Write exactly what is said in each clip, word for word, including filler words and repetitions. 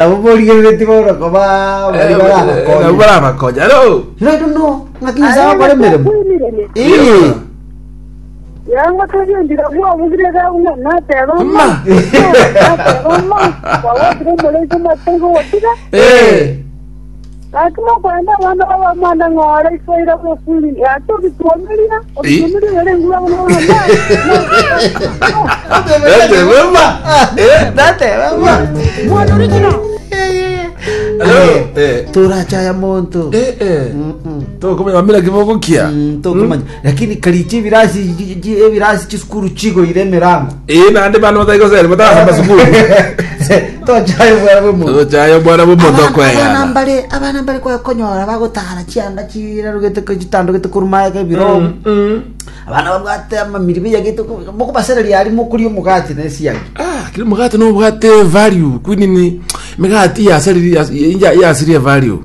Abo borigerereti bono koba bari barabakonya. Nabo barabakonya. Hello. You know, I don't know. Ng'aki Nyasae agokora emeremo. Eh. Yango togendire bwabugire gabuna nateba Ma. ma nateba ma wawatire omorezi omataigo gotiga Eh. gaki mokwenda abana babamwana ng'ora isoira bofuni gaki obituomeria obituomeria bere nguru abana Nateba ma. Eh. Nateba ma. Hello. Eh. Torachaya monto. Eh eh. Mm-mm. Tokomanya bamira kiboko kia. Mm, tokomanya lakini karichi ebirasi ji- ji- ebirasi chisukuru chigoire emirango Eh nande bana batagosere batasamba sukuru. tochaye bwana bw'omonto Tochayo bwana bw'omonto abana kweyana. mbare abana mbare kwakonyora bagotara chianga chirarugete chitandugete korumaeka ebirogo Mm. abana babwate amamirimo yagete mokobasereria ari mokoria omogati na esiagi Ah, kiri mugati no bwate value kwinini migati yasariri yasirie value.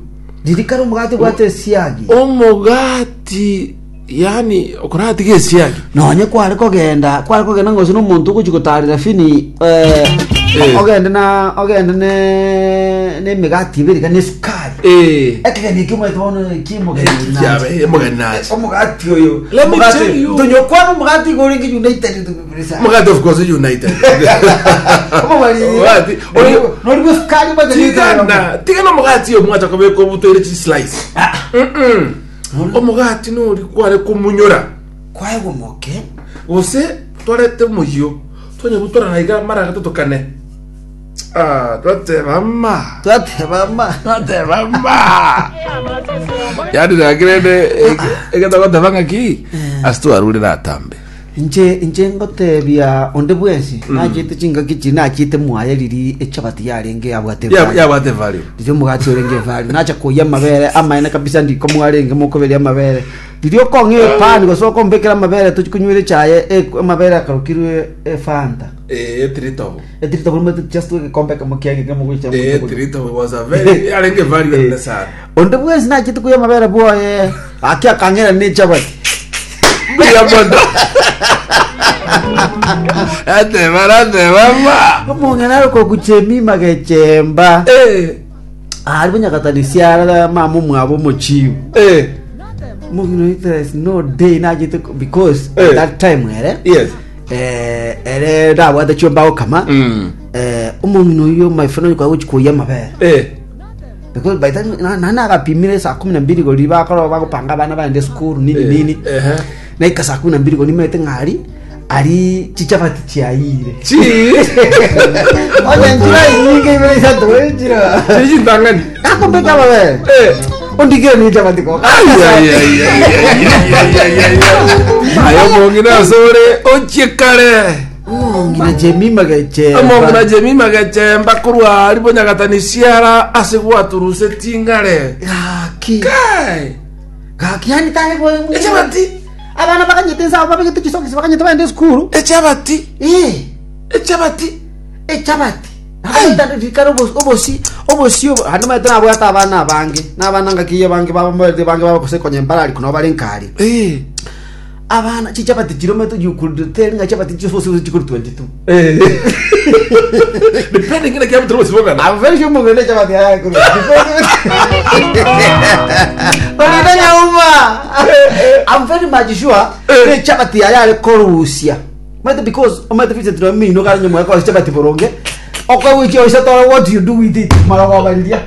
ririkari omogati bwate esiagi Omogati yani okorati gesiagi. nonye kware kogenda kware kogenda ng'ose na omonto ogochi gotarera fini eh, Eh. ogende na ogende ne na emigati ibere kana esukari Eh. ekegeni ekio omanyete bono kimogeni Yabe mugani nache. omogati oyo Let me Omogati- tell you. tonyokwana omogati iga orenge united Mugati of course united. Omogati oyo nori esukari tigana tigana omogati oyo mwacha kobeka obutoire chi slice. Mm. Omogati nori kware kumunyora. kwaegwa moke Gose twarete omoyio twanyabutora na iga mara gatato kane. Ah, twateba ma. twateba ma Twateba ma. Yani nakirende egetagoteba ng'aki ase twarure natambe. nche nche ngotebia onde bwensi nachete chingaki chi nachete mwaye riri echabati yarenge yabwate Ya value. yabwate value. riri omogati orenge value nacha koya amabere amaene kabisa ndiko mwarenge mokoberia amabere riri okong'a epani gose okombekera amabere tochikonywera echaye e- amabere akarokirwe efanta Eh, tritobo. etirita buri mate just egekombe kamo kiage kemo gocha Eh, tritobo was a very yarenge value ene sana. onde bwensi nachete koya amabere bwoye aki akang'era ne echabati Mbuya mono. Ateba nateba ma. omong'ina arokokuchemima gechemba Eh, ari bonyakatanisiara mama omwabo omochiu eh, mong'ina there is no day nachete because Eh. at that time ere yes. eh, ere ndabwate chiombago kama Mm. eh, omong'ina oyo my friend oyo kwagochi amabere Eh. because by the time na- na nagapimire saa kumi na mbili gori bakora bagopanga abana baende school nini Eh, nini ehe. naika saa kumi na mbili gori nimete ng'ari ari chichabati chiaire Chi. onye njira inyinge ibere isato enjira Chi chintang'ani. akombeka amabere Eh. ondigire ni chabati ko Ai, ai, ai, ai, ai, ai, ai, ai, ai. Ayo mong'ina asore ochie kare. omong'ina jemima gechemba Omong'ina Jemima gechemba korwa ari bonyagatanisiara ase gwaturuse ting'are. gaki Kai. gaki yani tare bo Echabati. abana bakanyete nsabo babegete chisokisi bakanyete baende skuru Echabati. eh Echabati. echabati rikari obosi obosi obo handi maete nabwate abana abange n'abana ngakiye bange babambaete bange babakose konya embarari kuno bare nkari Eh. abana chichabati chiro maete you could tell nga chabati chisosi chikuri twenty-two Eh. Depending ngina kiabu turusi bongana. I'm very sure mugende chabati haya kuri Olina nyauma I'm very much sure ne chabati haya ari korusia maete because maete Vincent no mino kara nyuma kwa chabati boronge okwe wiki oisa toro what do you do with it mara kwa bandia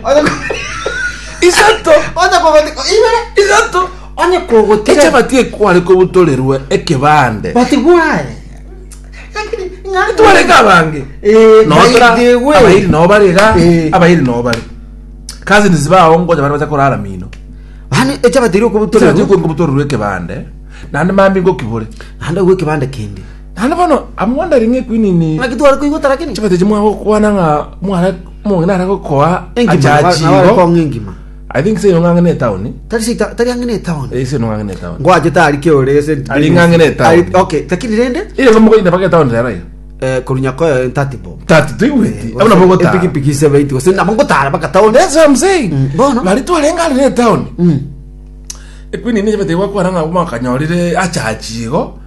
Isato. Onye kogoti ibere Isato. onye kogotira Echabati ekware kobutorerwe ekebande. but why lakini ng'a Twareka abange. eh Notora by the way abairi no barega Eh. abairi no bare. Cousins bao ngoja bari bacha kurara mino. hani echabati iri Echabati kobutorerwe kobutorerwe ekebande. Nande mambi ngokibore. handa gwe kibande kindi Nande bono I'm wondering ekwinini. ngaki twari kuigotara kini Chabati chimwa gokwana ng'a mwana mong'ina ara gokoa engima achachigo. engima I think se ng'ang'e town. tari sita tari ang'e town Eh se ng'ang'e town. ngwaje tari keore se Ari ng'ang'e town. Ari- okay takiri rende Ile ngomo koyinda paka town rera yo. eh korunyako ntati bo Tati tuiweti. Abuna bogota. epikipiki seventy gose nabo ngotara paka town That's what I'm saying. Mm, bono. Bari twarenga ari town. mm Ekwinini chabati gwakwana ng'a mwakanyorire achachigo.